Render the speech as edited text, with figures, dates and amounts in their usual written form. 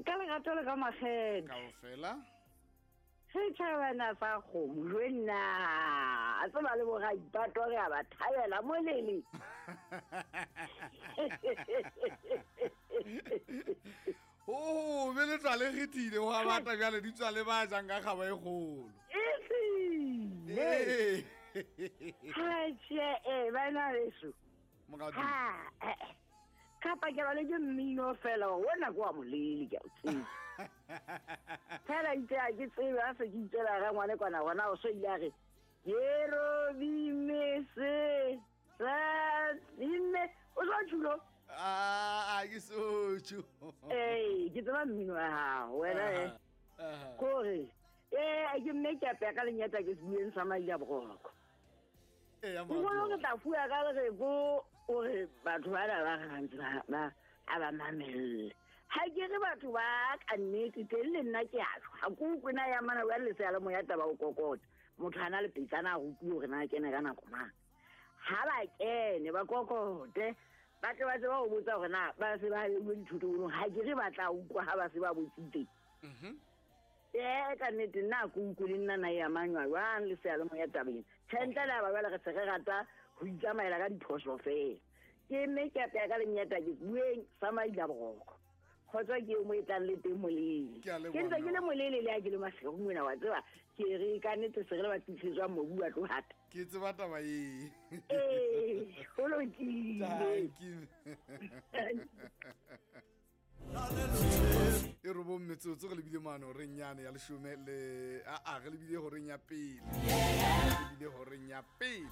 Ka lerato le ka makgethe. Kaofela. Setšhabana sa kgomo jwe nna a tseba le boraipato re a ba thabela molele. O be le tswa le kgethile go a bata bjale di tswa le ba jang ka kgaba e kgolo. Ehlile. Hatjhe e bana beso. Moratuwa. Ha kapa ke bale ke mmino fela ona ke wa molele ke a o tseba. Fela itse a ke tsebe a se ke itsela ga ngwane kwana gona o so ile a re ke robime se sa ime o so tšhulo. A ke sotšo. Ee, ke tseba mmino wa gago wena e. Kore ee ke mme ke apea ka lenyata ke se bueng sa madi a boroko. Ngolo re tla fuwa ka lereko ore batho ba na ba gantsi ba a ba mamelle. Ha ke re batho ba ka nnete teng le nna ke a shwa. Ha ke utlwe na ya mana wa lesea le moya taba o kokota. Motho a na le petsana a rutuwe hore na kene ka nako mang. Ha ba kene ba kokote ba tle ba tseba ho botsa hore na ba se ba beilwe dithoto bolong. Ha ke re ba tla utlwa ha ba se ba botsitse. Ee, ka nnete nna ke utlwe le nna na e amanywa jwang le seyalemoya tabeng. Tjhe, ntle le ha ba jwale re se re rata ho itsamaela ka diphoso fela. Ke mme ke apeya ka lenyata ke bueng sa maila boroko. Kgotso ke eo mo e tlang le teng molele. Ke a leboha, Ke ntse ke le mme. molele le ha ke le mahloko mona wa tseba. Ke re ka nnete se re le ba tiisetswang mobu wa tlo hata. Ke tseba taba ee. Ee, ho lokile. Thank you. E robong metsotso re lebile mane horeng yane ya leshome le aa re lebile horeng ya pele. Re lebile horeng ya pele.